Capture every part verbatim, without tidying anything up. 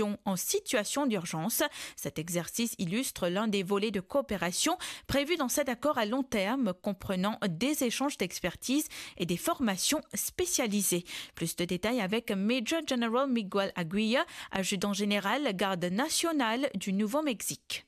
en situation d'urgence. Cet exercice illustre l'un des volets de coopération prévus dans cet accord à long terme, comprenant des échanges d'expertise et des formations spécialisées. Plus de détails avec Major General Miguel Aguirre, adjudant général garde nationale du Nouveau-Mexique.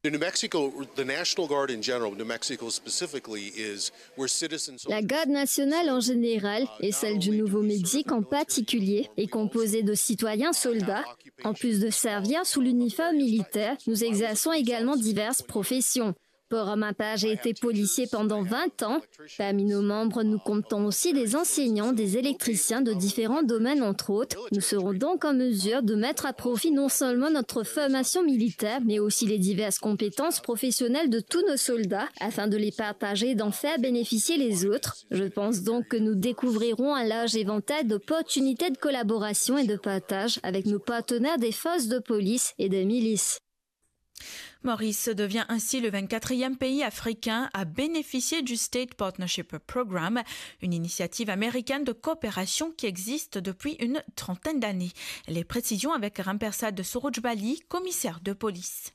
In New Mexico, the National Guard in general, New Mexico specifically, is where citizens. La garde nationale en général et celle du Nouveau-Mexique en particulier est composée de citoyens soldats. En plus de servir sous l'uniforme militaire, nous exerçons également diverses professions. Pour ma part, j'ai été policier pendant vingt ans. Parmi nos membres, nous comptons aussi des enseignants, des électriciens de différents domaines, entre autres. Nous serons donc en mesure de mettre à profit non seulement notre formation militaire, mais aussi les diverses compétences professionnelles de tous nos soldats afin de les partager et d'en faire bénéficier les autres. Je pense donc que nous découvrirons un large éventail d'opportunités de collaboration et de partage avec nos partenaires des forces de police et des milices. Maurice devient ainsi le vingt-quatrième pays africain à bénéficier du State Partnership Program, une initiative américaine de coopération qui existe depuis une trentaine d'années. Les précisions avec Rampersad Surujbali, commissaire de police.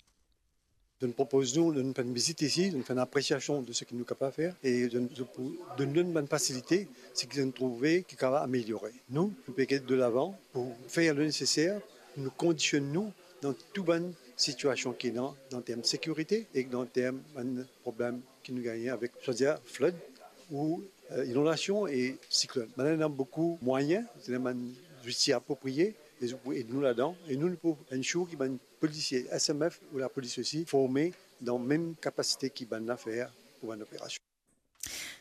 Donn propoz nou, donn bann vizit isi, donn fer enn apresiasion de seki nou kapav fer e donn, pou donn nou bann fasilite, seki nou trouve ki kapav ameliore. Nou, nou pe get delavan pou fer le neseser pou nou kondisionn nou dan tou bann sitiasion ki ena dan term sekirite e dan term bann problem ki nou gagne avek, swadir flood ou, eh, inondasion e siklonn. Bann ena boukou mwayin, ena bann zouti aproprie e zot pou ed nou ladan. E nou, nou pou ensure ki bann polisie S M F ou lapolis osi forme dan mem kapasite ki bann la fer pou bann operasion.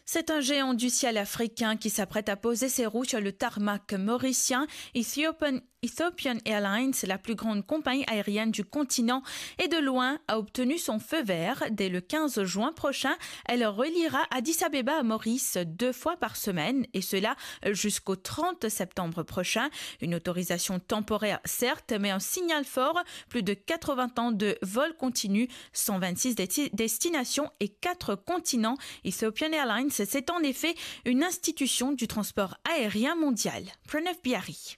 C'est un géant du ciel africain qui s'apprête à poser ses roues sur le tarmac mauricien. Ethiopian, Ethiopian Airlines, la plus grande compagnie aérienne du continent, et de loin, a obtenu son feu vert. Dès le quinze juin prochain, elle reliera Addis Abeba à Maurice deux fois par semaine, et cela jusqu'au trente septembre prochain. Une autorisation temporaire, certes, mais un signal fort. Plus de quatre-vingts ans de vol continu, cent vingt-six desti-, destinations et quatre continents. Ethiopian Airlines, c'est en effet une institution du transport aérien mondial. Pranav Bihari.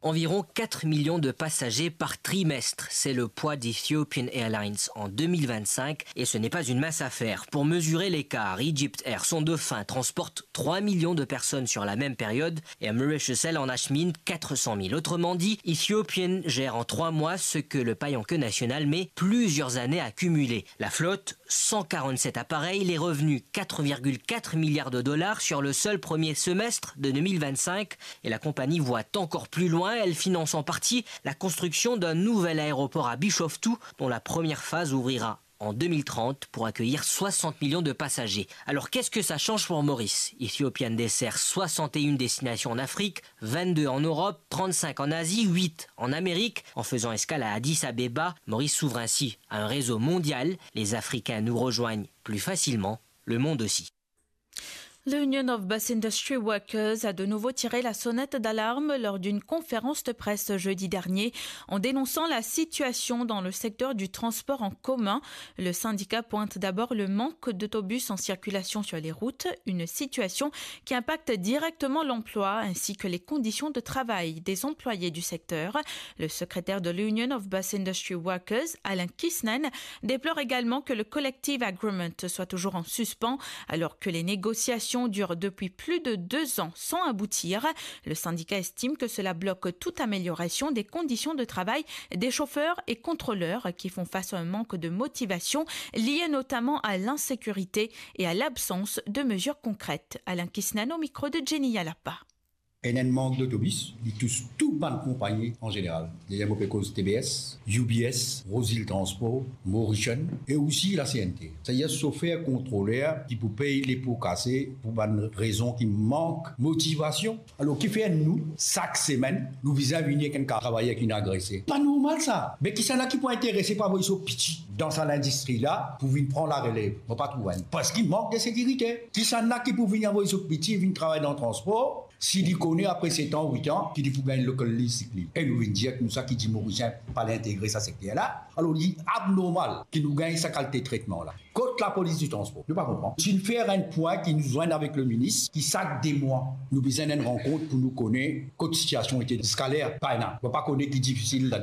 Environ quatre millions de passagers par trimestre, c'est le poids d'Ethiopian Airlines en deux mille vingt-cinq et ce n'est pas une mince affaire. Pour mesurer l'écart, Egypt Air, son dauphin, transporte trois millions de personnes sur la même période et Mauritius Air en achemine quatre cent mille. Autrement dit, Ethiopian gère en trois mois ce que le pavillon national met plusieurs années à cumuler. La flotte, cent quarante-sept appareils, les revenus, quatre virgule quatre milliards de dollars sur le seul premier semestre de deux mille vingt-cinq. Et la compagnie voit encore plus loin, elle finance en partie la construction d'un nouvel aéroport à Bishoftu, dont la première phase ouvrira en deux mille trente pour accueillir soixante millions de passagers. Alors qu'est-ce que ça change pour Maurice ? Ethiopian dessert soixante et une destinations en Afrique, vingt-deux en Europe, trente-cinq en Asie, huit en Amérique. En faisant escale à Addis Abeba, Maurice s'ouvre ainsi à un réseau mondial. Les Africains nous rejoignent plus facilement, le monde aussi. L'Union of Bus Industry Workers a de nouveau tiré la sonnette d'alarme lors d'une conférence de presse jeudi dernier en dénonçant la situation dans le secteur du transport en commun. Le syndicat pointe d'abord le manque d'autobus en circulation sur les routes, une situation qui impacte directement l'emploi ainsi que les conditions de travail des employés du secteur. Le secrétaire de l'Union of Bus Industry Workers, Alain Kisnen, déplore également que le collective agreement soit toujours en suspens alors que les négociations durent depuis plus de deux ans sans aboutir. Le syndicat estime que cela bloque toute amélioration des conditions de travail des chauffeurs et contrôleurs qui font face à un manque de motivation lié notamment à l'insécurité et à l'absence de mesures concrètes. Alain Kisnen au micro de Jenny Yalapa. Ena enn mank dotobis, li tous tou bann konpagni an zeneral. Deryer mo pe koz T B S, U B S, Rosil Transport, Mauritian e osi la C N T. Savedir sofer kontroler ki pou pey lepo kase pou bann rezon ki mank motivasion. Alor, kifer nou, sak semenn, nou bizin vini ek enn ka-, travayer ki inn agrese? Pa normal sa. Me kisannla ki pou interese pou avoy so piti dan sa lindistri la pou vinn pran larelev? Mo pa trouv enn. Parski mank de sekirite. Kisannla ki pou vinn avoy so piti, vinn travay dan transpor, si li kone apre set an, wit an, ki li pou gagn local lease sick leave? E nou vinn dir ek nou sa ki dimoun Morisien pa le integre sa sekter la. Alor, li abnormal ki nou gagn sa kalite tretman la. Kot lapolis di transpor? Nou pa konpran. Si nou fer enn pwin ki nou zwenn avek le minis, ki sak de mwa, nou bizin enn rankont pou nou kone kot sitiasion ete ziska ler, pa ena. Nou pa kone ki difisil ladan.